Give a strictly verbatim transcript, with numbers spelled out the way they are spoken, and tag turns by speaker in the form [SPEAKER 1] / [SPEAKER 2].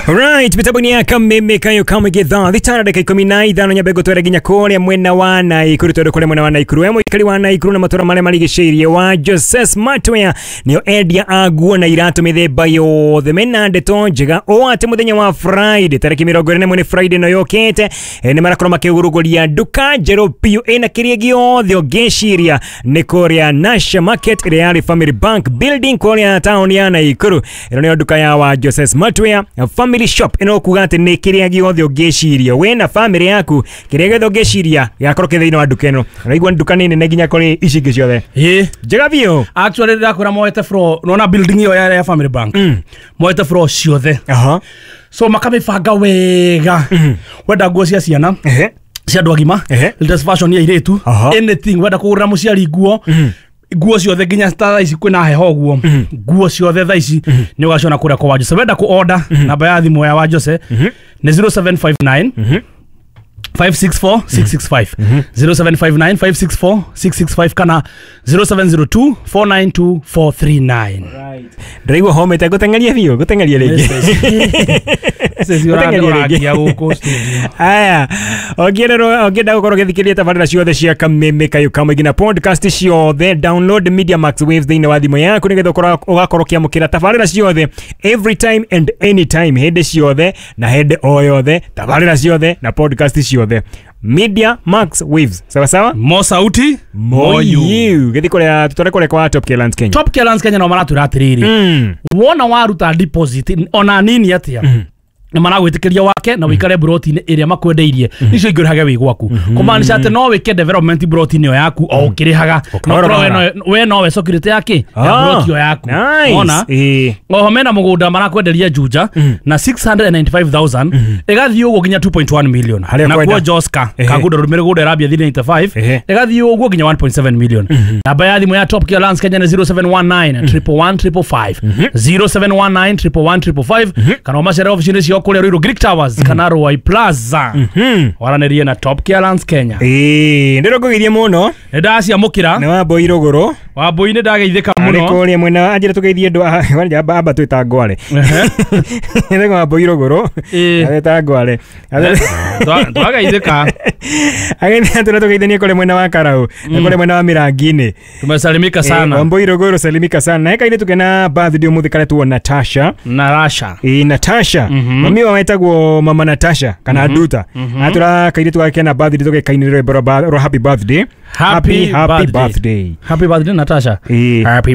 [SPEAKER 1] Right, mitambo-inĩ ya Kameme kayo kamwe gĩthaa thita na ndagĩka ikũmi na ithano. Nyambe ngũtware nginya kũrĩa mwena wa Naikuru, tondũ kũrĩa mwena wa Naikuru we mũikari wa Naikuru na matũra marĩa marigicĩirie, wa Jose Smartwear nĩo endia a nguo na iratũ mĩthemba yothe. Mena ndeto njega o atĩ mũthenya wa Friday tarĩki mĩrongo ĩrĩ na ĩmwe, nĩ Friday ĩno yũkĩte, eh, nĩ marakorwo makĩgũrũgũria nduka njerũ biũ ĩna kĩrĩa gĩothe ũngĩciria, nĩ kũrĩa Nasha Market ĩrĩa yarĩ Family Bank building kũrĩa taũni ya Naikuru. Ĩno nĩyo nduka ya wa Jose Smartwear Family Shop. Ĩno kuga atĩ nĩ kĩrĩa gĩothe ũngĩciria we na family yaku, kĩrĩa gĩothe ũngĩciria gĩgakorwo kĩ thĩinĩ wa nduka ĩno. Ũraigua nduka nĩ nene nginya kũrĩ ici ingĩ ciothe.
[SPEAKER 2] Ĩ.
[SPEAKER 1] Njega biũ.
[SPEAKER 2] Actually, ndakwĩra moete floor, nona building ĩyo ya ya Family Bank, moete floor ciothe.
[SPEAKER 1] Aha.
[SPEAKER 2] So makamĩbanga wega. Wenda nguo cia ciana,
[SPEAKER 1] Ehe.
[SPEAKER 2] cia andũ agima,
[SPEAKER 1] Ehe.
[SPEAKER 2] latest fashion ya airĩtu,
[SPEAKER 1] Aha.
[SPEAKER 2] anything wenda kũgũrĩra mũciari, nguo nguo ciothe, nginya ta thaa ici kwĩna heho ũguo, nguo ciothe thaa ici nĩ ũgaciona kũrĩa kwa Wajose. Wenda kũ order, namba ya thimũ ya Wajose nĩ zero seven five nine five six four six six five, zero seven five nine five six four six six five kana zero seven zero two four nine two four three nine.
[SPEAKER 1] Ndĩraigua homete, ngũteng'eria biũ, ngũteng'eria rĩngĩ. Gũteng'eria rĩngĩ.
[SPEAKER 2] Ũragia gũkũ studio.
[SPEAKER 1] Aya, ũngĩenda ũngĩenda gũkorwo ũgĩthikĩrĩria tabarĩra ciothe cia Kameme kayo kamwe nginya podcast ciothe, download Media Max Waves thĩinĩ wa thimũ yaku nĩgetha ũkorwo- ũgakorwo ũkĩamũkĩra tabarĩra ciothe every time and anytime, hĩndĩ ciothe na hĩndĩ o yothe, tabarĩra ciothe na podcast ciothe. Media Max Waves, sawa sawa.
[SPEAKER 2] Mo sauti.
[SPEAKER 1] Mo you gĩthiĩ kũrĩa tũtware kũrĩa kwa Top Lands Kenya.
[SPEAKER 2] Top Lands Kenya no maratwĩra atĩrĩrĩ,
[SPEAKER 1] Mm.
[SPEAKER 2] wona waruta deposit ona nini atia, nĩ maragwĩtĩkĩria wake na wĩikare broti-inĩ ĩrĩa makwendeirie, icio ingĩ ũrĩhage wĩ gwaku, kũmaanisha atĩ no wĩke development broti-inĩ ĩyo yaku o ũkĩrĩhaga.
[SPEAKER 1] Kahora
[SPEAKER 2] No korwo we
[SPEAKER 1] kahora.
[SPEAKER 2] no- we nowe security ya kĩ ya
[SPEAKER 1] Ah,
[SPEAKER 2] broti ĩyo yaku.
[SPEAKER 1] nice.
[SPEAKER 2] Wona
[SPEAKER 1] Ĩĩ.
[SPEAKER 2] oho mena mũgũnda marakwenderia Juja na six hundred ninety-five thousand, ĩgathiĩ ũguo nginya two point one million.
[SPEAKER 1] Harĩa
[SPEAKER 2] Na
[SPEAKER 1] kwenda.
[SPEAKER 2] kuo Joska
[SPEAKER 1] Ehe.
[SPEAKER 2] Kangundo mĩgũnda ĩrambia three ninety-five,
[SPEAKER 1] Ehe.
[SPEAKER 2] ĩgathiĩ ũguo nginya one point seven million. Namba ya thimũ ya Top Gear Lands Kenya nĩ zero seven one nine triple one triple five, zero seven one nine triple one triple five, kana ũmacere ofici-inĩ ciao kũrĩa Ruiru Greek Towers kana Ruai Plaza, waranĩrie na Top Gear Lands Kenya.
[SPEAKER 1] Ĩĩ, ndĩrongũgeithia mũno.
[SPEAKER 2] Nĩ ndaciamũkĩra.
[SPEAKER 1] Nĩ Wambui rũgũrũ.
[SPEAKER 2] Wambui, nĩ ndageithĩka
[SPEAKER 1] arĩ
[SPEAKER 2] mũno.
[SPEAKER 1] Kũrĩa mwena anjĩra tũgeithie andũ a- amba amba twĩta ngware.
[SPEAKER 2] Ehe.
[SPEAKER 1] Nĩ Wambui rũgũrũ.
[SPEAKER 2] Ĩĩ.
[SPEAKER 1] Agĩta ngware.
[SPEAKER 2] Twa- twageithĩka.
[SPEAKER 1] Agĩthiĩ atũra tũgeithanie kũrĩa mwena wa Karau na kũrĩa mwena wa Mĩrangi-inĩ.
[SPEAKER 2] Tumesalimika sana.
[SPEAKER 1] Wambui rũgũrũ, salimika sana. Na hekainĩ tukena birthday ũmũthĩ karetwo Natasha.
[SPEAKER 2] Na Rasha.
[SPEAKER 1] Ĩ, Natasha, mami wao etagwo mama Natasha kana Nduta. Atũra kairĩtu gake kena birthday, tũgekainĩra rwĩmbo rwa happy birthday.
[SPEAKER 2] Happy
[SPEAKER 1] happy
[SPEAKER 2] birthday.
[SPEAKER 1] Birthday.
[SPEAKER 2] Happy birthday, Natasha.
[SPEAKER 1] Ĩĩ.
[SPEAKER 2] Happy.